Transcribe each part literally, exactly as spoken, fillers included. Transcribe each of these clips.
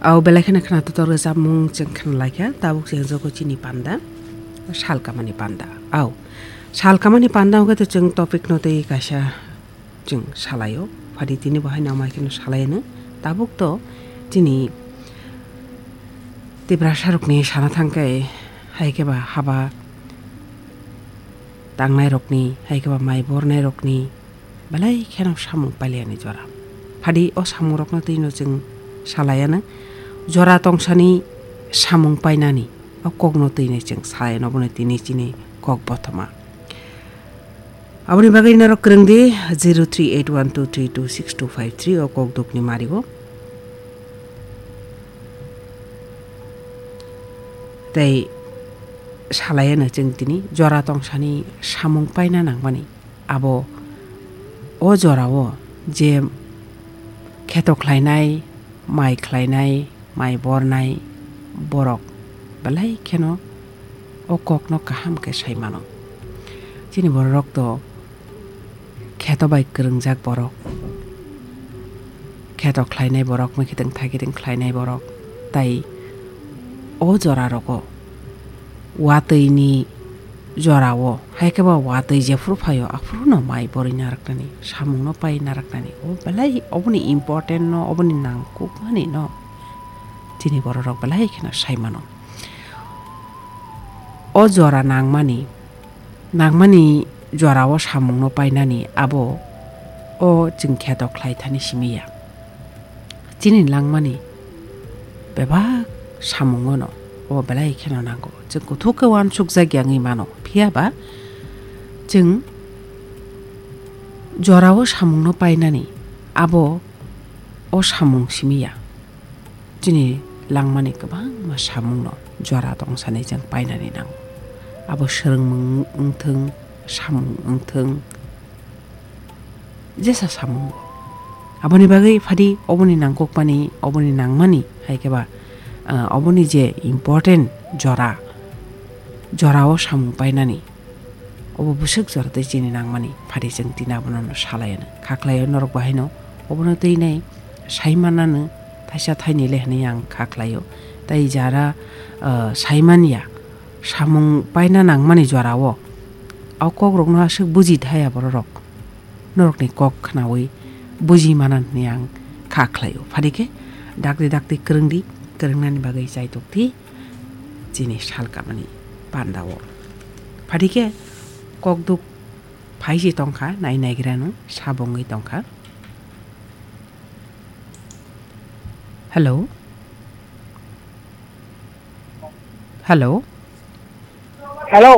Au belai kheno khwnathok rwchapmung chwng khwnalaikha, tabuk chwng jogo chini panda, sal kamani panda. Au, sal kamani panda hwnkhe to chwng topic no tei kaisa chwng salaio. Phadi tini bo haino amai kheno salaiano. Tabuk to chini Tiprasa rokni sana thangkhe hai khe ba haba tangnai rokni, hai khe ba mai bornai rokni, belai kheno samung pailiyani jora. Phadi o samungrokno twino chwng salaiano, jora tongsani samung painani o kokno twino chwng salaiano, obono tini chini kok bothoma. Aboni bagwi norok kwrwng di, zero three eight one two three two six two five three o kok dukni mario. Tei salaiano chwng tini jora tongsani samung paina nangmani. Abo o jorao je kheto khlainai, mai khlainai, mai bornai borok belai kheno o kokno kaham khe sai mano. Chini bororok to kheto bai kwrwngjak borok, kheto khlainai borok, mwkhitwng thaikitwng khlainai borok, tai o jora rogo watwini jorao, hai khe ba watwi jephuru phaio, aphuru no mai borwi naraknani, samung no pai naraknani, o belai oboni important no, oboni nangkukmani no chini bororok belai kheno sai mano. O jora nangmani, nangmani jorao samung no painani abo o chwng kheto khlai thani simi ya. Chini langmani bebak samungono o belai kheno nango. Chwng kuthuk khe uansukjak ya wngwi mano. Phiya ba chwng jorao samungno painani abo o samung simi ya. Chini langmani kwbangma samungno jora tongsani chwng painani nango. Abo swrwngmung wngthwng, samung wngthwng, jesa samungo. Aboni bagwi phadi oboni nangkukmani, oboni nangmani, hai khe ba, ah, oboni je important jora, jorao samung painani, obo bwswk jora tei chini nangmani, phadi chwng tini abono no salai ano. Kha khlai o norok bo haino obono twi nai sai manano thaisa thaini le hwnwi ang kha khlai o. Tei jara, ah, sai man ya, samung paina nangmani jorao, o kokrokno aswk buji thaya bororok. Norokni kok khnaui buji manan hwnwi ang kha khlaio. Phadi khe dakti dakti kwrwngdi, kwrwngnani bagwi chaitok di chini sal kamani pandao. Phadi khe kok duk phaisi tongkha, nai naigrano sabongwi tongkha. Hello? Hello? Hello.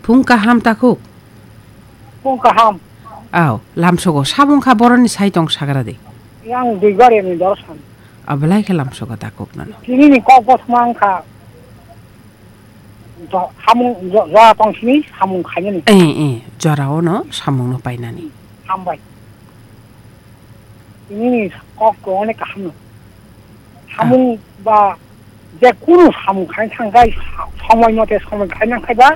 Phung kaham takhuk? Phung kaham. Aw, lamsogo sabung kha boroni sai tong sagra de. Yang Duibari ni dorsan. Aw, belai khe lamsogo takhuk nano. Tini ni kok bos mang kha. Jo-, hamung, jo-, jora tong sini hamung khainani. Eh, eh, jora ono samung no painani. Hambai. Nini kok ko onek kaham no. Samung ba je kunu samung khai thang kai sa-, somoi mote somoi khai nang khai ba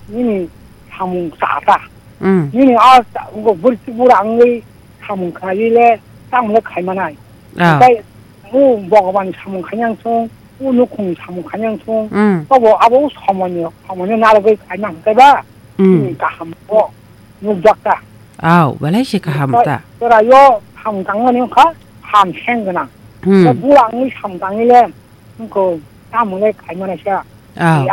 nini samung sa ta. Mm. Nini a ta-, go bur-, bura angwi samung khai le tang le khai manai. Ah. Kai u Bhagwan samung khai yang sung, u nukhung samung khai yang sung. Mm. Tobo abo somoi ni, somoi ni naragwi khai nang khai ba. Mm. Nini kaham ko. Nukjak ta. Aw, belai se kaham ta. Chwraio ham tangmani wngkha ham seng gwnang. Hmm. Tei bula wngwi ham tangwi le wngkha tamo le khaimani sa. Aw. Tei